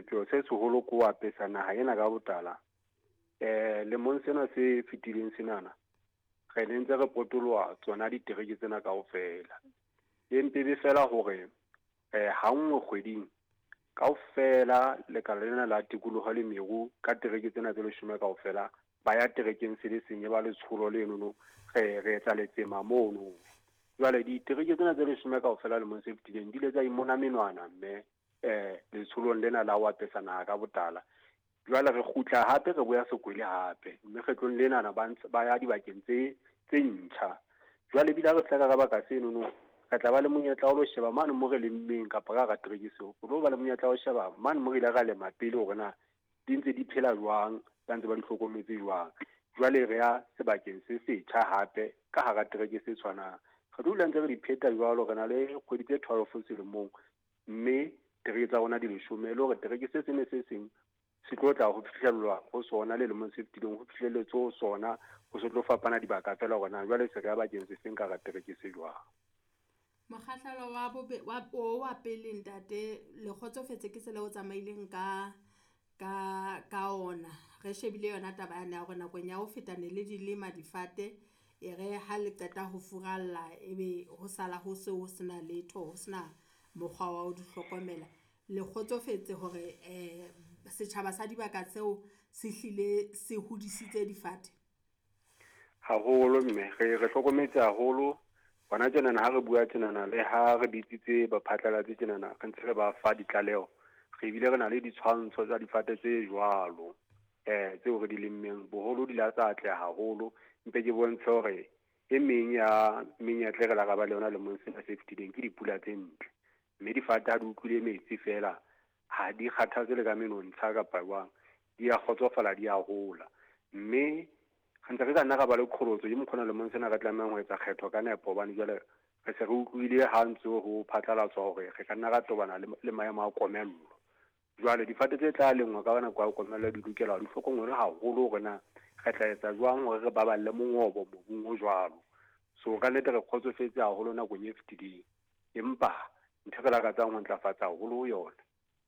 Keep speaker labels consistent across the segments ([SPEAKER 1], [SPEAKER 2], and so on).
[SPEAKER 1] Sepheo se seholo ke ho apesa naha ena ka botala. Lemong sena se fetileng senana, re ne ntse re potoloha tsona ditereke tsena kaofela. E mpe be fela hore ha nngwe kgweding kaofela lekala lena la tikoloho le meru ka tereke tsena tse 10 kaofela ba ya terekeng se le seng, e ba letsholo lenono, re etsa letsema mono. Jwale ditereke tsena tse 10 kaofela lemong se fetileng di ile tsa imona menwana mme letsholong lena la ho apesa naha ka botala. Jwale re kgutla hape, re boya sekwele hape, mme kgetlong lenana ba ya dibakeng tse ntjha. Jwale ebile ha re fihla ka baka senono, re tla ba le monyetla wa ho sheba mane mo re lemmeng kapa ka hara tereke seo, re tlo ba le monyetla wa ho sheba mane mo re ile ra lema pele hore na di ntse di phela jwang, ba ntse ba di hlokometse jwang. Jwale re ya sebakeng se setjha hape ka hara tereke se tshwanang. Re tlo dula ntse re di pheta jwalo, re na le kgwedi tse 12 selemong, mme tereke tsa rona di 10, le hore tereke se seng le se seng se tlo tla ho fihlellwa ho sona le lemong se fetileng, ho fihlelletswe ho sona, ho se tlo fapana dibaka fela hore na jwale se re ya bakeng se seng ka hara tereke se jwang.
[SPEAKER 2] Mokgahlelo wa pele ntate, le kgotsofetse ke tsela o tsamaileng ka ona. Re shebile yona taba yane ya hore nakong ya ho feta ne le di lema difate, e re ha le qeta ho furalla ebe ho sala ho se ho sena letho, ho sena mokgwa wa ho di hlokomela. Le kgotsofetse hore setjhaba sa dibaka tseo se hlile se hodisitse difate?
[SPEAKER 1] Haholo mme, re hlokometse haholo. Hona tjenana ha re bua tjenana, le ha re bitsitse baphatlalatsi tjenana, re ntse re ba fa ditlaleho, re bile re na le ditshwantsho tsa difate tse jwalo tseo re di lemmeng. Boholo di la tsa atleha haholo. Mpe ke bontshe hore e meng ya menyetla e re la ra ba le yona lemong sena se fetileng ke dipula tse ntle. Mme difate ha di utlwile metsi fela, ha di kgathatse le ka menontsha kapa jwang, di a kgotsofala, di a hola. Mme re ntse re ka nna ra ba le qholotso ke mokgona lemong sena re tlamehang ho etsa kgetho ka nepo, hobane jwale re se re utlwile ha ntse ho phatlalatswa hore re ka nna ra tobana le maemo a komello. Jwale difate tse tla lengwa ka nako ya komello di lokela di hlokomelwe haholo hore na re tla etsa jwang hore re baballe mongobo mobung o jwalo. So ka nnete re kgotsofetse haholo nakong e fetileng, empa ntho e re lakatsang ho ntlafatsa haholo ho yona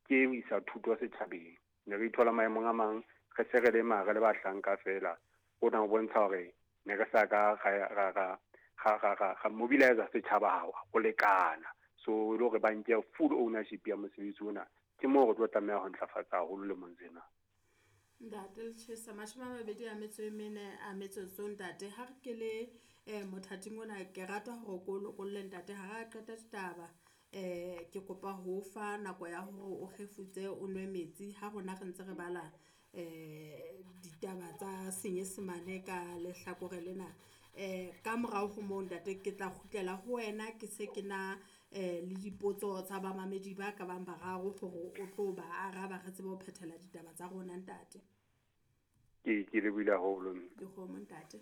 [SPEAKER 1] ke ho isa thuto setjhabeng. Ne re ithola maemong a mang re se re lema re le bahlanka fela, hona ho bontsha hore ne re sa ka ra mobilize setjhaba ho lekana. So e le hore ba nke full ownership ya mosebetsi ona, ke moo re tlo tlameha ho ntlafatsa haholo lemong sena.
[SPEAKER 2] Ntate Lechesa, 24 a metsotso ntate. Ha re ke le mothating ona, ke rata hore ko lokolle ntate ha re qeta ditaba. Ke kopa ho fa nako ya hore o kgefutse, o nwe metsi ha rona re ntse re bala ditaba tsa Senyesemane ka lehlakore lena. Ka morao ho moo ntate, ke tla kgutlela ho wena, ke se ke na le dipotso tsa bamamedi ba ka bang bararo hore o tlo ba araba, re tsebe ho phethela ditaba tsa rona ntate.
[SPEAKER 1] Ke lebohile haholo.
[SPEAKER 2] Dikgomo ntate.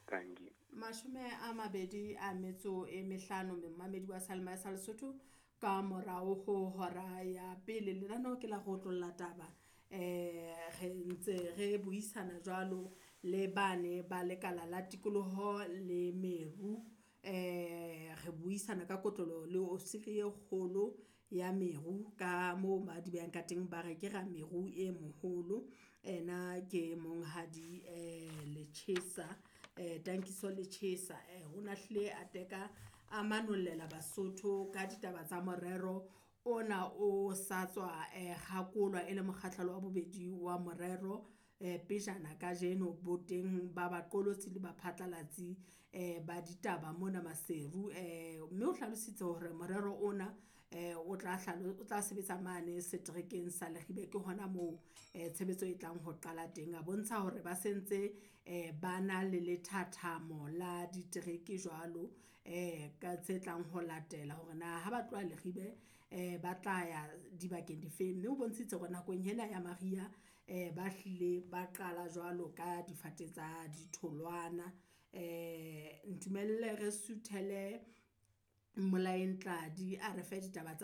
[SPEAKER 1] Thank you.
[SPEAKER 2] 25 momamedi wa Salma sa Lesotho ka morao ho hora ya pele. Lenaneo ke la go otlolla taba. Re ntse re buisana jwalo le bane ba lekala la tikoloho le meru. Re buisana ka kotloloho le ofisiri e kgolo ya meru ka moo ba di behang ka teng, ba re ke ra meru e moholo. Ena ke monghadi Lechesa, Tankiso Lechesa. O na hlile a teka a manollela Basotho ka ditaba tsa morero ona o sa tswa kgakolwa e le mokgahlelo wa bobedi wa morero pejana kajeno boteng ba baqolotsi le baphatlalatsi ba ditaba mona Maseru. Mme o hlalositse hore morero ona o tla sebetsa mane seterekeng sa Leribe, ke hona moo tshebetso e tlang ho qala teng. A bontsha hore ba sentse ba na le lethathamo la ditereke jwalo ka tse tlang ho latela hore na ha ba tloha Leribe ba tla ya dibakeng difeng. Mme o bontshitse hore nakong ena ya mariha ba hlile ba qala jwalo ka difate tsa ditholwana. Ntumelle re suthele Mmolaeng Tladi a re fe ditaba tsa.